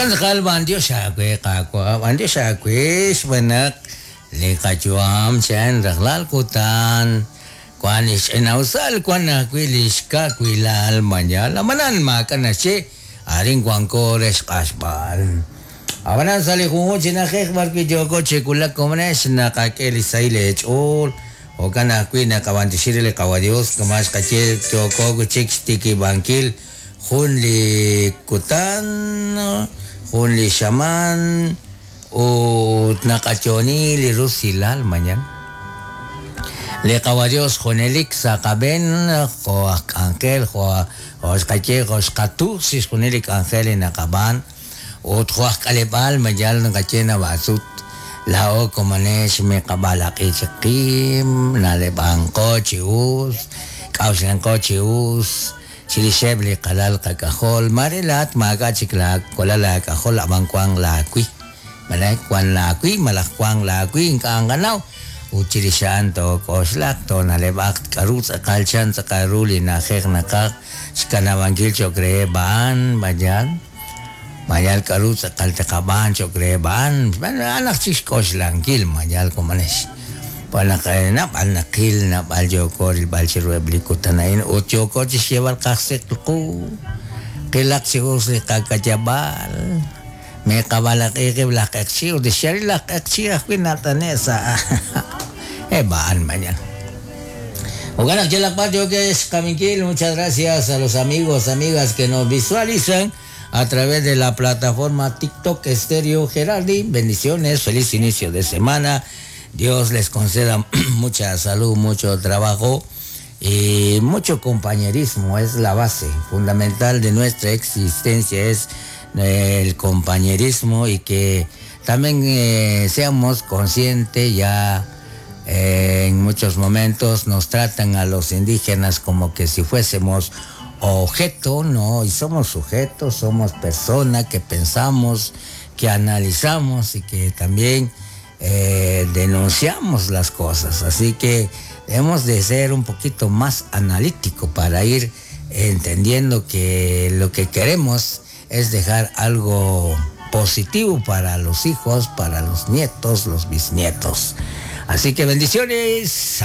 Jo'kan tz'aqal b'anyox aawe Qaawa', b'anyox aawe xb'aan naq li qayu'am chan rajlal kutan wan li xch'ina'usal wan ajwi' li xkawilal mañana ab'anan maak'a' naxye arin wanko re xq'axb'al. Ab'anan sa' li junjunq chi na'ajej b'arwi' yooko chi wulak komonex naqak'e li sahil eech'ool jo'kan ajwi' naqab'antioxi re li Qawa' Dios kama' xqaye yooko wi' chik xtikib'ankil jun li kutan, jun li xamaan ut naqayo'oni li rusilal mañana. Li Qawa' Dios junelik sa' qab'een jo' aj k'anjel jo' jo' xqaye jo' xqatus chixjunil li k'anjel li naqab'aan ut jo' aj k'aleb'aal mayal naqaye nab'atzut laa'o komonex miqab'alaq'i chik qib', na'leb'anqo chi us, k'a'uxlanqo chi us chirixeb' li qalal qak'ajol mare laa'at maak'a' chik laawalal aak'ajol ab'an wank laawi malaj wank laawi malaj wank laawi ink'a' nqanaw ut chirix a'an took'oxlaq toona'leb'aq k'aru tz'aqal chan tz'aqal ru li na'ajej naqaj xkanab'ankil cho'q reheb' a'an mayal mayal k'aru tz'aqal tqab'aan cho'q reheb' a'an a'an aj chik xk'oxlankil mayal komonex xb'aan naq naab'al naqil naab'al yooko rilb'al chiruheb' li kutan a'in ut yooko chixyeeb'al qajsik qu qilaq chi us li qakayab'aal miqab'alaq'i qib' laj q'eqchi ut xyaalil laj q'eqchi ajwi' nat'ane' sa' eb' a'an mañana. Jo'kan naq yalaq b'ar yookex xqaminkil muchas gracias a los amigos amigas que nos visualizan a través de la plataforma TikTok Estéreo Gerardi. Bendiciones, feliz inicio de semana. Dios les conceda mucha salud, mucho trabajo y mucho compañerismo. Es la base fundamental de nuestra existencia, es el compañerismo y que también seamos conscientes ya en muchos momentos nos tratan a los indígenas como que si fuésemos objeto, no, y somos sujetos, somos personas que pensamos, que analizamos y que también denunciamos las cosas. Así que debemos de ser un poquito más analítico para ir entendiendo que lo que queremos es dejar algo positivo para los hijos, para los nietos, los bisnietos. Así que bendiciones.